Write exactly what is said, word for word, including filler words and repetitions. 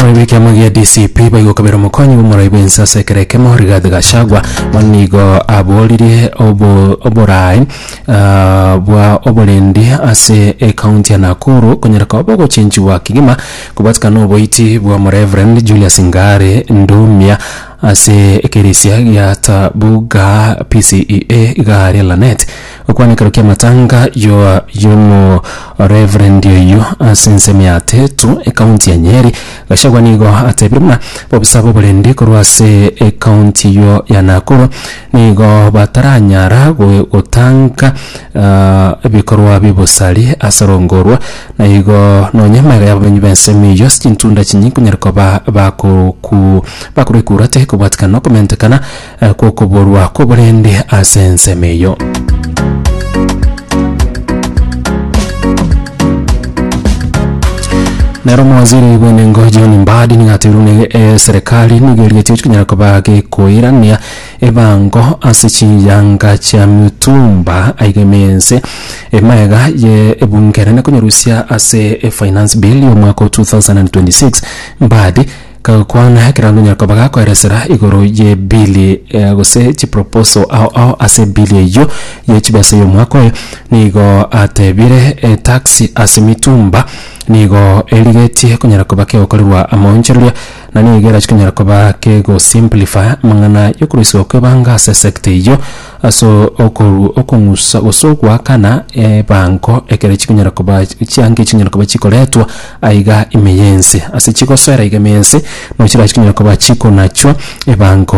Omorai bw'ekiama gia D C P baigokabera omokonyi bw'omorai bw'ense ase ekero ekemo Rigathi Gachagua bono nigo aboririe obo oborai ah, bwa oborendi ase ekaunti ya Nakuru konyara koba bogochenchiwa kegima kobwatikana oboiti bwa Omoreverend Julius Ngare Ndumia ase ekerisia gia Tabuga P C E A iga Lanet. Okwana ekero kia matanga yo yomo reverend oyo ase ensemo ya Tetu, ekaunti ya Nyeri, Gachagua nigo atebire buna bobisa bw'oborendi korwa ase ekaunti yo ya Nakuru nigo bataranyara go- gotanga ah, ebikorwa bibosari ase rongorwa na igo nonya magega y'ababenyi b'ensemo eyio ase chintunda chinyi konyara koba bakoku bakorwa ekurate kobwatikana na okomentekana eh, kwokoborwa kw'oborendi ase ensemo eyio. Nero omowaziri bw'enengo John Mbadi nigo atebire buna eh, serikali nigo erigetie konyara koba gekoirania ebango ase chiyanga chia mitumba aiga emense emaega ye ebunge enene konyarusia ase e finance bill y'omwaka wa twenty twenty-six. Mbadi kagokwana ekero konyara koba gakoeresera igoro ye bili eh, gose chiproposal ao ao ase bili eyio ye chibesa y'omwaka oyo, nigo atebire etax ase mitumba nigo erigetie konyara koba kegokorerwa amaonchoreria na nigo erachi konyara koba kegosimplify amang'ana yokorusiwa kw'ebanga ase sector eyio ase okoru okong'usa gose ogoakana ebango ekero chikonyara koba chiange chinyara koba chikoretwa aiga ime y'ense ase chigosoera aiga ime y'ense no chirachi konyara koba chikonachwa ebango.